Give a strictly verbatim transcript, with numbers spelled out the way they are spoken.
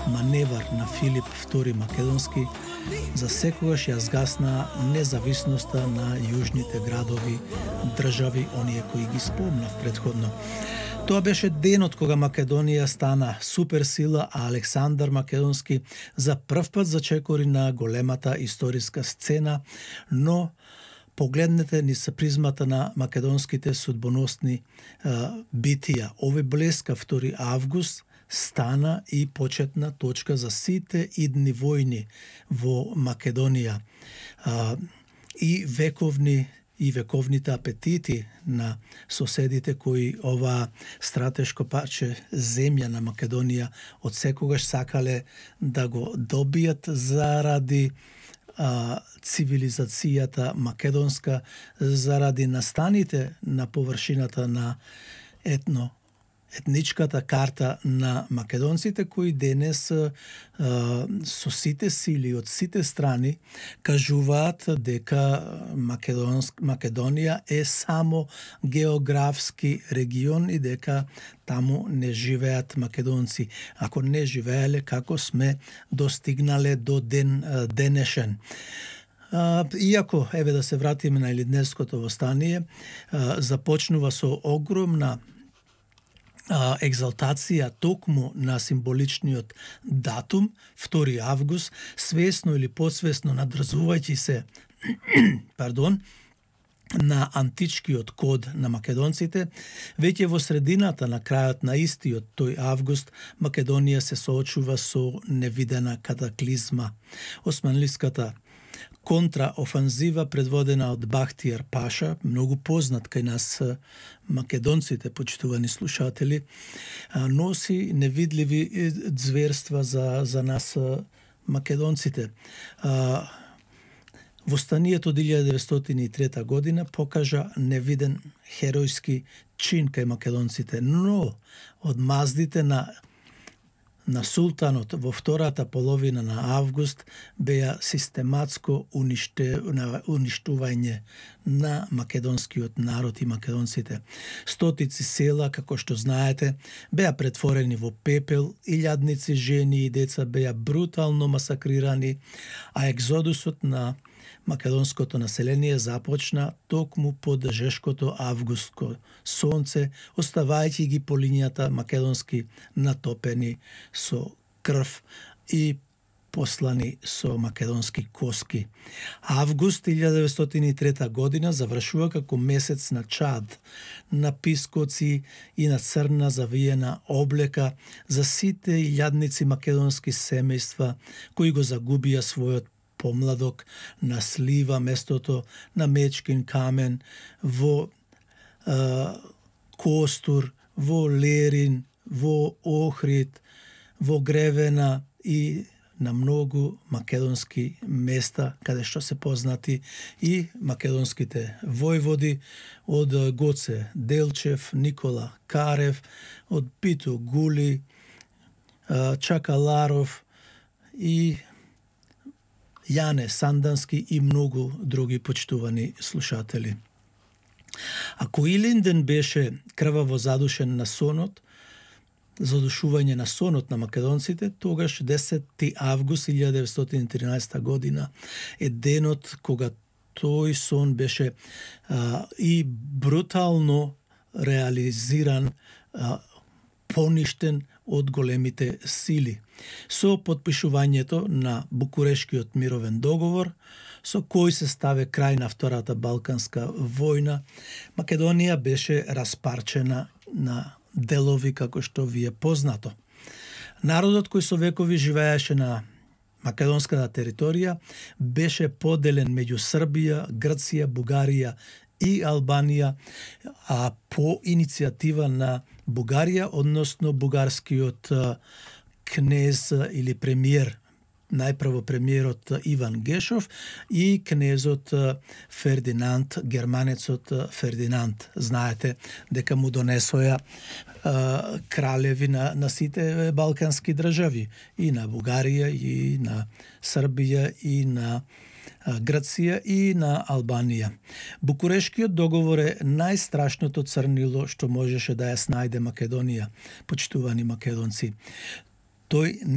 маневар на Филип втори Македонски за секогаш ја згасна независноста на јужните градови, држави, оние кои ги спомнав предходно. Тоа беше денот кога Македонија стана суперсила, а Александар Македонски за прв пат зачекори на големата историска сцена, но погледнете низ призмата на македонските судбоносни а, битија. Овој блескав втори август стана и почетна точка за сите идни војни во Македонија. А, и вековни и вековните апетити на соседите кои ова стратешко парче земја на Македонија од секогаш сакале да го добијат заради а, цивилизацијата македонска, заради настаните на површината на етно етничката карта на македонците кои денес а, со сите сили од сите страни кажуваат дека Македонск, Македонија е само географски регион и дека таму не живеат македонци. Ако не живееле, како сме достигнале до ден денешен. Иако, еве да се вратиме на Илидневското востание, започнува со огромна екзалтација токму на символичниот датум, втори август, свесно или подсвесно надрзувајќи се пардон, на античкиот код на македонците, веќе во средината на крајот на истиот тој август, Македонија се соочува со невидена катаклизма. Османлиската контраофанзива предводена од Бахтијар Паша, многу познат кај нас македонците, почитувани слушатели, носи невидливи зверства за, за нас македонците. Востанието од илјада деветстотини и трета година покажа невиден херојски чин кај македонците, но од маздите на на султанот во втората половина на август беа систематско униште, уништување на македонскиот народ и македонците. Стотици села, како што знаете, беа претворени во пепел, илјадници жени и деца беа брутално масакрирани, а екзодусот на македонското население започна токму под жешкото августско сонце, оставајќи ги по линијата македонски натопени со крв и послани со македонски коски. Август илјада деветстотини и трета година завршува како месец на чад, на пискоци и на црна завиена облека за сите илјадници македонски семејства кои го загубија својот помладок на слива местото на Мечкин камен, во е, Костур, во Лерин, во Охрид, во Гревена и на многу македонски места каде што се познати и македонските војводи од Гоце Делчев, Никола Карев, од Пито Гули, Чакаларов и Јане Сандански и многу други почитувани слушатели. Ако Илинден беше крваво задушен на сонот, задушување на сонот на македонците, тогаш десети август илјада деветстотини и тринаесета година е денот кога тој сон беше а, и брутално реализиран, а, поништен од големите сили. Со потпишувањето на Букурешкиот мировен договор, со кој се ставе крај на Втората Балканска војна, Македонија беше распарчена на делови како што ви е познато. Народот кој со векови живееше на македонската територија беше поделен меѓу Србија, Грција, Бугарија и Албанија, а по иницијатива на Бугарија, односно бугарскиот кнез или премиер, најпрво премиерот Иван Гешов и кнезот Фердинанд, германецот Фердинанд. Знаете дека му донесоја кралеви на, на сите балкански држави, и на Бугарија, и на Србија, и на Грција и на Албанија. Букурешкиот договор е најстрашното црнило што можеше да ја снајде Македонија, почитувани македонци. Тој не